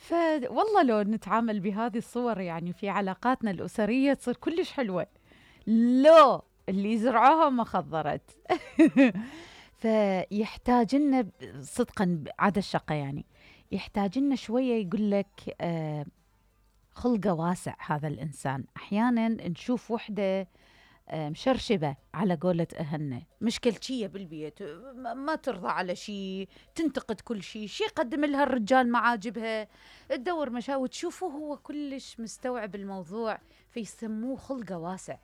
فوالله لو نتعامل بهذه الصور يعني في علاقاتنا الأسرية تصير كلش حلوة. لو اللي زرعوها ما خضرت. فيحتاج لنا صدقا عدا الشقة يعني يحتاج لنا شوية يقول لك خلقه واسع هذا الإنسان. أحيانا نشوف وحدة مشرشبة على قولة أهلنا، مشكلتية بالبيت، ما ترضى على شيء، تنتقد كل شيء يقدم لها الرجال ما عاجبها، تدور مشاوي وتشوفه هو كلش مستوعب الموضوع، فيسموه خلقه واسع،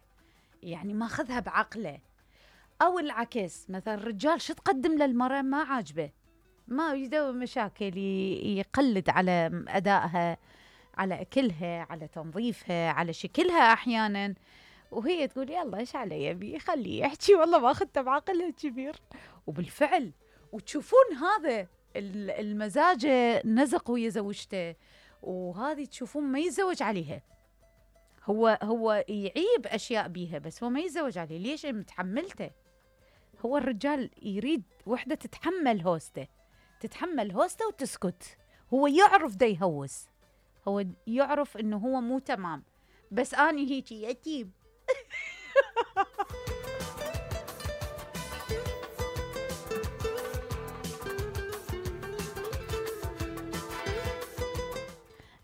يعني ماخذها بعقله. أو العكس، مثلا الرجال شو تقدم للمرأة ما عاجبه، ما يدور مشاكل، يقلد على أدائها، على أكلها، على تنظيفها، على شكلها أحيانا، وهي تقول يلا إيش علي بي، خليه يحكي، والله ما أخذته بعقلها كبير. وبالفعل وتشوفون هذا المزاجة نزق ويا زوجته، وهذه تشوفون ما يتزوج عليها، هو يعيب أشياء بيها بس هو ما يتزوج عليه. ليش؟ متحملته. هو الرجال يريد وحدة تتحمل هوسته، تتحمل هوسته وتسكت. هو يعرف دا يهوس، هو يعرف إنه هو مو تمام، بس أنا هيجي يتيم.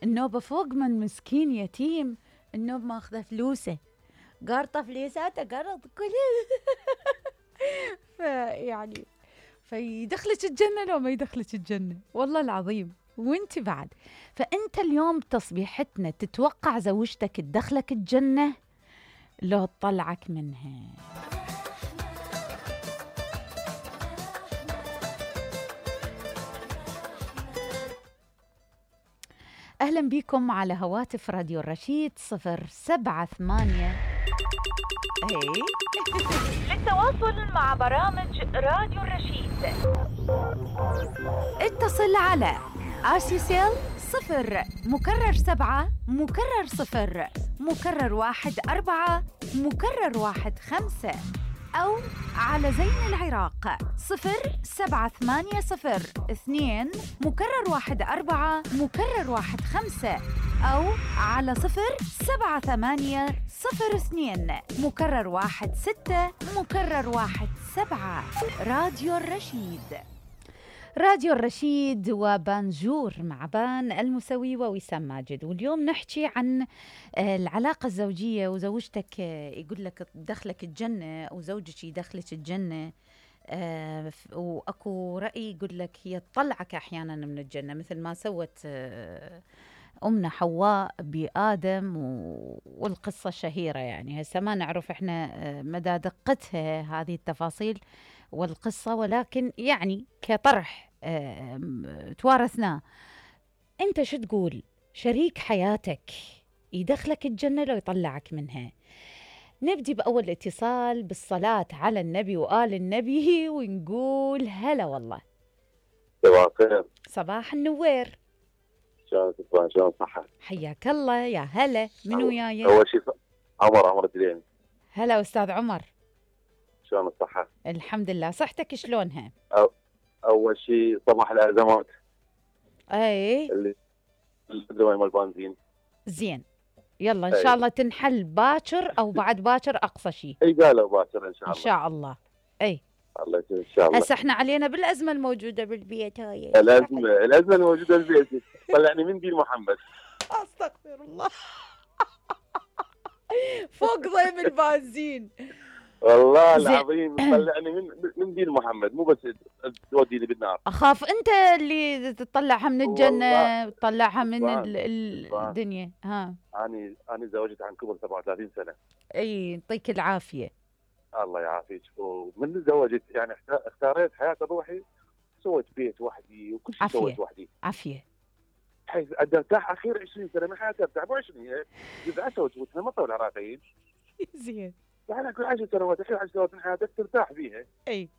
النوبة فوق من مسكين يتيم، النوب ماخذه فلوسه، قارطة فليساته، قرض كله. فيعني فيدخلك الجنة لو ما يدخلك الجنة، والله العظيم. وانت بعد، فانت اليوم تصبيحتنا تتوقع زوجتك تدخلك الجنة لو تطلعك منها. أهلا بكم على هواتف راديو الرشيد 078. للتواصل مع برامج راديو الرشيد اتصل على RCCL 0 مكرر 7 مكرر 0 مكرر 1 4 مكرر 1 5، أو على زين العراق 07802 مكرر 1 4 مكرر 1 5، أو على 07802 مكرر 1 6 مكرر 1 7. راديو الرشيد. راديو الرشيد وبانجور مع بان المسوي ووسام ماجد. واليوم نحكي عن العلاقة الزوجية، وزوجتك يقول لك دخلك الجنة أو زوجك يدخلك الجنة، وأكو رأي يقول لك هي تطلعك أحيانا من الجنة، مثل ما سوت أمنا حواء بآدم، والقصة الشهيرة يعني هسه ما نعرف إحنا مدى دقتها هذه التفاصيل والقصة، ولكن يعني كطرح توارثناه. أنت شو تقول؟ شريك حياتك يدخلك الجنة لو يطلعك منها؟ نبدي بأول اتصال بالصلاة على النبي وآل النبي ونقول هلا والله. صباح الخير. صباح النوير. شلون صباح، شلون صحة؟ حياك الله، يا هلا. من وياي؟ أول شيء عمر الدليمي. هلا أستاذ عمر، شلون الصحة؟ الحمد لله. صحتك شلونها؟ أول شيء صباح الأزمات. أي اللي مال البنزين. زين، يلا إن شاء الله تنحل باكر أو بعد باكر أقصى شيء. أي قالوا باكر إن شاء الله. إن شاء الله. أي الله يسلمك إن شاء الله. هسه إحنا علينا بالأزمة الموجودة بالبيت هاي. الأزمة الموجودة بالبيت. طلعني من دين محمد. أستغفر الله. فوق ضيم البنزين. والله العظيم طلعني من دين محمد، مو بس توديني بالنار. أخاف أنت اللي تطلعها من الجنة وتطلعها من الدنيا. ها أنا زوجت عن كبر 37 سنة. أي يعطيك العافية. الله يعافيك. ومن تزوجت يعني اختاريت حياة روحي، سويت بيت وحدي وكل شيء سويت وحدي. عافية. حيث ارتاح اخير 20 سنه من حياتي، ارتاح مو 20 جزء وتوتنا ما طول عراقيين. زين. يعني كل 10 سنوات اخير 10 سنوات من حياتك ترتاح فيها. اي.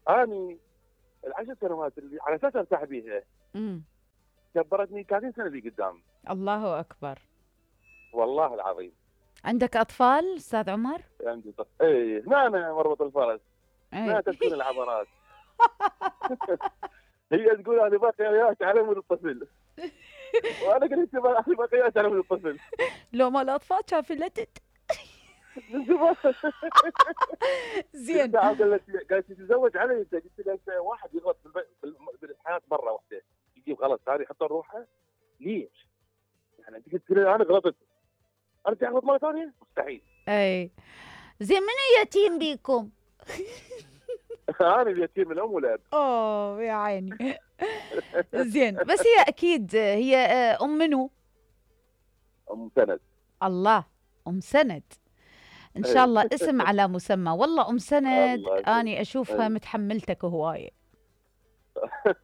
اني ال10 سنوات اللي على اساس ارتاح بيها كبرتني 30 سنه اللي قدام. الله اكبر. والله العظيم. عندك اطفال استاذ عمر؟ عندي طفل. اي هنا أنا مربط الفرس. هنا تسكن العبرات. هي تقول انا باقي وياك على مود الطفل. وانا قلت انا باقي وياك على مود الطفل. لو ما الاطفال كان فلتت. من زمان. زين. قالت تتزوج علي انت، قلت لها واحد يغلط بالحياه مره واحده يجيب غلط ثاني يحط روحه، ليش؟ يعني انت قلت لي انا غلطت ارجع اغلط مره ثانيه؟ مستحيل. اي زين، منو يتيم بيكم؟ انا اليتيم الام والاب. اوه يا عيني. زين، بس هي اكيد هي ام منو؟ ام سند. الله، ام سند. ان شاء الله اسم على مسمى. والله ام سند اني اشوفها متحملتك هوايه.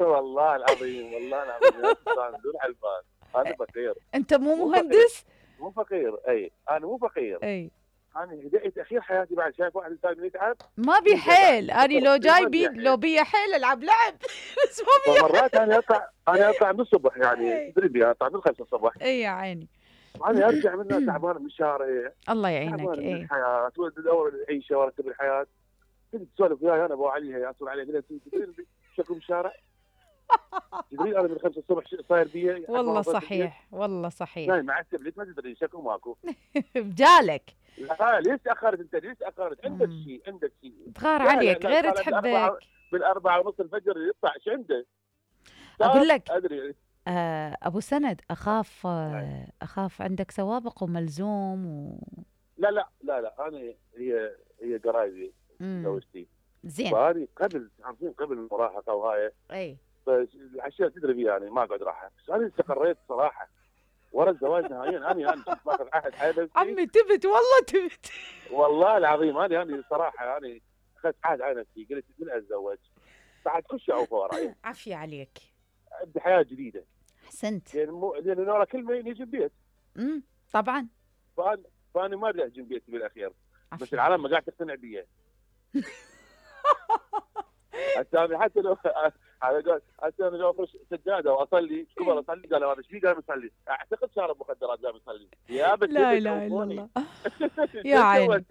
والله العظيم والله العظيم يا سلطان بدون حلفان انا فقير. انت مو مهندس؟ مو فقير. اي انا مو فقير. اي انا بديت اخير حياتي بعد شايف واحد انسان يتعب ما بي حيل. اني لو جاي بيد لو بي حيل العب لعب. بس ما بي. مرات انا اطلع من الصبح يعني تدري اطلع من 5 الصبح. اي يا عيني. انا ارجع منها تعبان من الشارع. الله يعينك. تعبان من اي الحياه وادور العيشه وارتب الحياه. كنت تسولف وياي انا ابو علي اسولف عليه تدري شكو بالشارع. تدري انا من 5 الصبح صاير بي. والله صحيح والله صحيح. لا مع التبليت ما تدري شكو ماكو. بجالك. لا ليش تاخرت انت؟ ليش تاخرت؟ عندك شيء تغار عليك غير تحبك. بالأربعة ونص الفجر يطلع ايش عنده؟ اقول لك ادري. ابو سند اخاف عندك سوابق وملزوم لا انا هي قرايبي زوجتي. زين. فهذه قبل المراهقه وهاي. اي الاشياء تدري فيها يعني ما اقعد راحه. بس انا استقريت صراحه ورا الزواج نهائيا. انا كنت ماخذ عهد حياتي. عمي تبت والله تبت. والله العظيم انا صراحه اخذت عهد على نفسي. قلت من اتزوج بعد كل شيء اوفر. عافيه عليك. ابدا حياه جديده. احسنت. لان ورا كلمه يجي البيت. طبعا. فانا ما ادري اهجم بيتي بالاخير. بس العالم ما قاعد تقتنع بي. حتى لو حتى انا لو افرش سجاده واصلي كبر اصلي قال هذا ايش في قاعد يصلي؟ اعتقد شارب مخدرات قاعد يصلي. يا بس لا اله الا الله. يا عيني.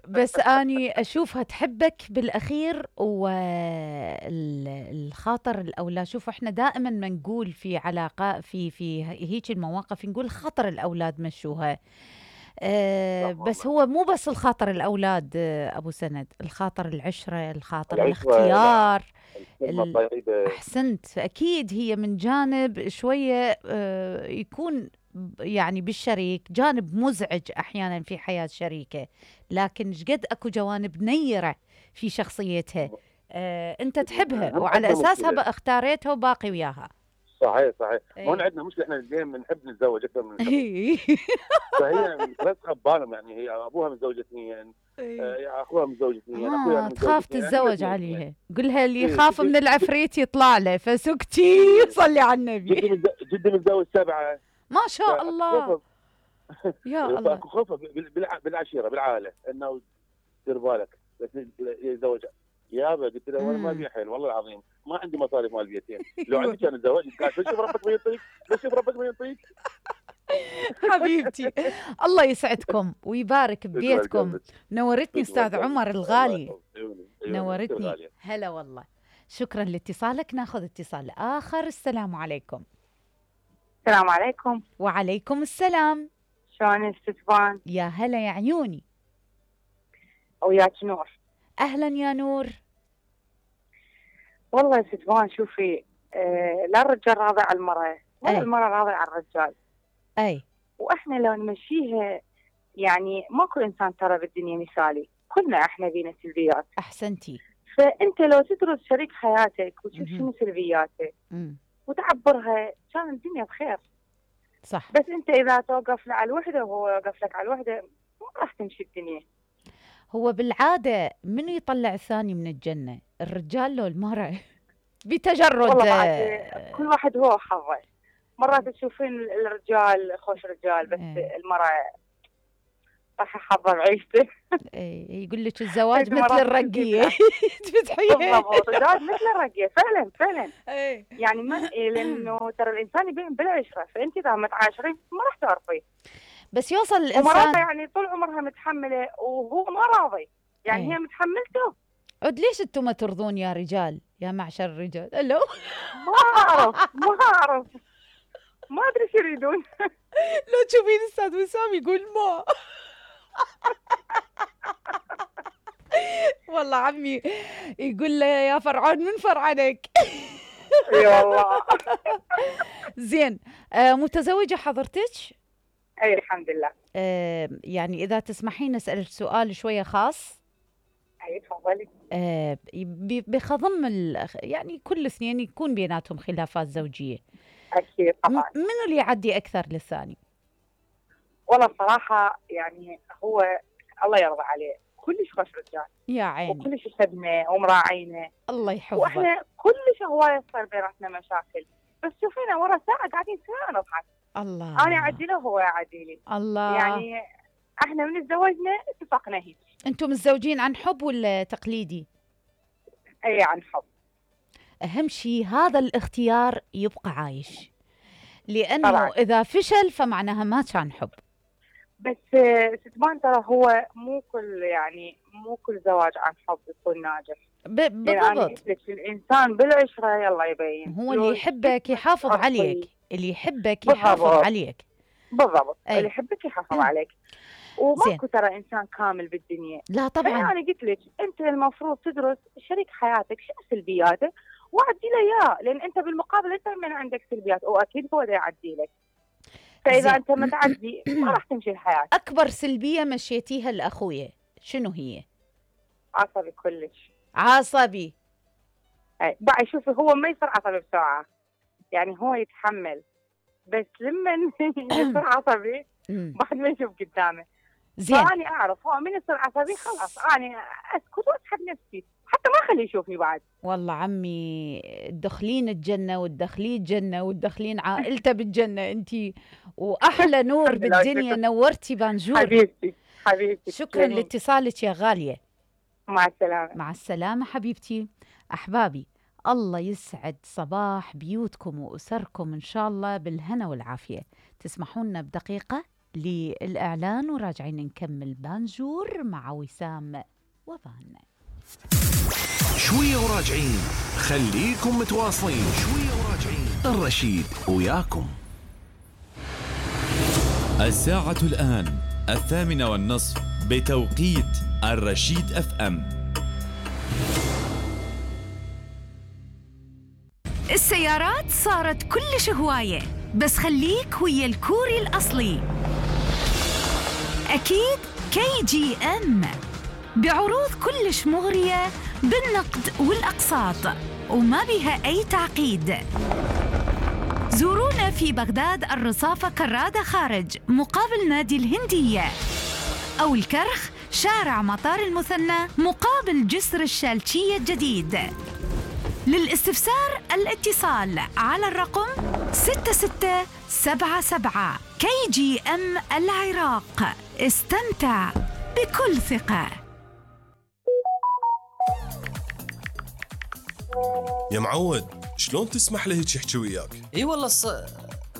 بس اني اشوفها تحبك بالاخير والخاطر الاولاد. شوف احنا دائما ما نقول في علاقه في هيك المواقف نقول خاطر الاولاد مشوها. بس هو مو بس الخاطر الأولاد أبو سند، الخاطر العشرة، الخاطر الاختيار. أحسنت. أكيد هي من جانب شوية يكون يعني بالشريك جانب مزعج أحيانا في حياة شريكه، لكن شقد أكو جوانب نيرة في شخصيتها. أنت تحبها وعلى أساسها اختاريتها وباقي وياها. صحيح هون عندنا مشكله. احنا الاثنين بنحب نتزوج اكثر من فهي لا تخبى بالهم. يعني هي ابوها متزوج 2 اخوها متزوج 2 تخاف تتزوج عليها. قلها اللي يخاف من العفريت يطلع له فسكتي. صلي على النبي. جدي متزوج 7. ما شاء الله. يا الله. خوفه بالعشيره بالعائله انه دير بالك يتزوج. يابا قلت له انا ما بي حيل والله العظيم ما عندي مصاريف مال بيتين. لو عندي كان اتزوج. قاعد شوف ربك ما ينطيك. حبيبتي الله يسعدكم ويبارك ببيتكم. نورتني استاذ عمر الغالي. نورتني. هلا والله. شكرا لاتصالك. ناخذ اتصال اخر. السلام عليكم. السلام عليكم. وعليكم السلام. شلونك ستفان؟ يا هلا يا عيوني. وياك نور. اهلا يا نور. والله يا ستفان شوفي لا الرجال راضي على المرأة ولا المرأة راضية على الرجال. اي واحنا لو نمشيها يعني ماكو انسان ترى بالدنيا مثالي. كلنا احنا بينا سلبيات. احسنتي. فانت لو تدرس شريك حياتك وتشوف شنو سلبياته وتعبرها كان الدنيا بخير. صح. بس انت اذا توقف له على الوحده وهو يوقف لك على الوحده ما راح تمشي الدنيا. هو بالعاده منو يطلع الثاني من الجنه؟ الرجال لو المرأة؟ بتجرد. والله كل واحد هو حظه. مرات تشوفين الرجال خوش رجال بس المرأة راح حظه بعيشته. يقول لك الزواج مثل الرقيه. تفتحيها بالضبط. الزواج مثل الرقيه فعلا. يعني ما لانه ترى الانسان يبين بالعشره. فانت اذا ما تعاشرين ما راح تعرفي. بس يوصل الانسان ومرات يعني طول عمرها متحمله وهو ما راضي. يعني هي متحملته. عد ليش انتم ما ترضون يا رجال؟ يا معشر الرجال. الو. ما اعرف ما ادري ايش يريدون. لو تشوفين استاذ وسام يقول ما. والله عمي يقول له يا فرعون من فرعنك. اي والله. زين، متزوجة حضرتك؟ اي الحمد لله. يعني إذا تسمحين أسألك سؤال شوية خاص. اي تفضلي. بخضم يعني كل اثنين يكون بيناتهم خلافات زوجية. اكيد طبعا. منو اللي يعدي أكثر للثاني؟ والله صراحة يعني هو الله يرضى عليه كلش خوش رجال يا عيني، وكلش يخدمه ومراعينه، الله يحفظه. واحنا كلش هواية صار بيناتنا مشاكل، بس شوفينا ورا ساعة قاعدين سوا نضحك. الله. انا اعدي له وهو يعدي لي. الله. يعني احنا من تزوجنا اتفقنا هيك. انتم متزوجين عن حب ولا تقليدي؟ اي عن حب. اهم شيء هذا الاختيار يبقى عايش، لانه طبعا. اذا فشل فمعناها ما كان حب. بس ستمان ترى هو مو كل زواج عن حب يكون ناجح. بالضبط. يعني الانسان بالعشره يلا يبين. هو اللي يحبك يحافظ عليك، اللي يحبك بالضبط. يحافظ عليك. بالضبط. أي. اللي يحبك يحافظ عليك. وماكو ترى انسان كامل بالدنيا. لا طبعا. انا قلت لك انت المفروض تدرس شريك حياتك شنو سلبياته وعدي له اياه، لان انت بالمقابل انت من عندك سلبيات واكيد هو ده يعدي لك. فاذا زين. انت ما تعدي ما راح تمشي الحياه. اكبر سلبيه مشيتيها لاخويا شنو هي؟ عصبي كلش. عصبي. اي بعد شوفي هو ما يصير عصبي بسرعه، يعني هو يتحمل، بس لما يصير عصبي بعد ما يشوف قدامه. زين. فاني اعرف هو من يصير عصبي خلاص اني اسكت واسحب نفسي حتى ما اخليه يشوفني بعد. والله عمي تدخلين الجنه وتدخلين الجنه وتدخلين عائلته بالجنه انتي، واحلى نور بالدنيا. نورتي بانجور حبيبتي. شكرا لاتصالك يا غاليه. مع السلامه. مع السلامه حبيبتي. احبابي الله يسعد صباح بيوتكم واسركم ان شاء الله بالهنا والعافيه. تسمحوا لنا بدقيقه للاعلان وراجعين نكمل بانجور مع وسام وفان. شوية وراجعين، خليكم متواصلين. شوية وراجعين، الرشيد وياكم. الساعة الآن 8:30 بتوقيت الرشيد FM. السيارات صارت كلش هواية، بس خليك ويا الكوري الأصلي أكيد KGM بعروض كلش مغرية بالنقد والأقساط وما بها أي تعقيد. زورونا في بغداد الرصافة كرادة خارج مقابل نادي الهندية، أو الكرخ شارع مطار المثنى مقابل جسر الشالشية الجديد. للاستفسار الاتصال على الرقم 6677. KGM العراق، استمتع بكل ثقة. يا معود شلون تسمح له هيك يحكي وياك؟ اي والله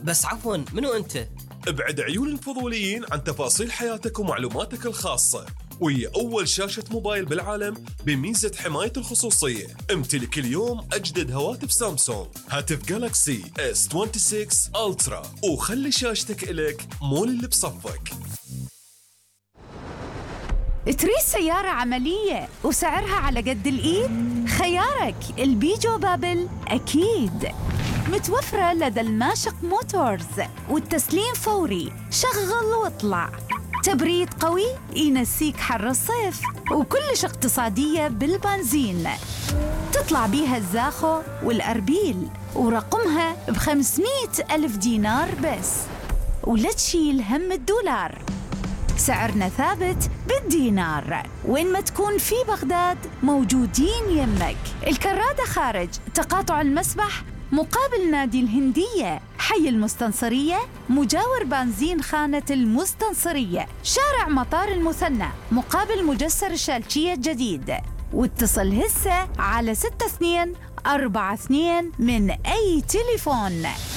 بس عفوا منو انت؟ ابعد عيون الفضوليين عن تفاصيل حياتك ومعلوماتك الخاصة، وهي أول شاشة موبايل بالعالم بميزة حماية الخصوصية. امتلك اليوم أجدد هواتف سامسونج، هاتف جالاكسي S26 ألترا، وخلي شاشتك إلك مو اللي بصفك. تريد سيارة عملية وسعرها على قد الإيد؟ خيارك البيجو بابل أكيد. متوفرة لدى الماشق موتورز، والتسليم فوري، شغل واطلع. تبريد قوي ينسيك حر الصيف، وكلش اقتصادية بالبنزين. تطلع بيها الزاخو والأربيل، ورقمها ب500,000 دينار بس، ولا تشيل هم $1. سعرنا ثابت بالدينار، وين ما تكون في بغداد موجودين يمك. الكرادة خارج تقاطع المسبح مقابل نادي الهندية، حي المستنصرية مجاور بنزين خانة المستنصرية، شارع مطار المثنى مقابل مجسر الشالشية الجديد. واتصل هسه على 6242 من أي تليفون.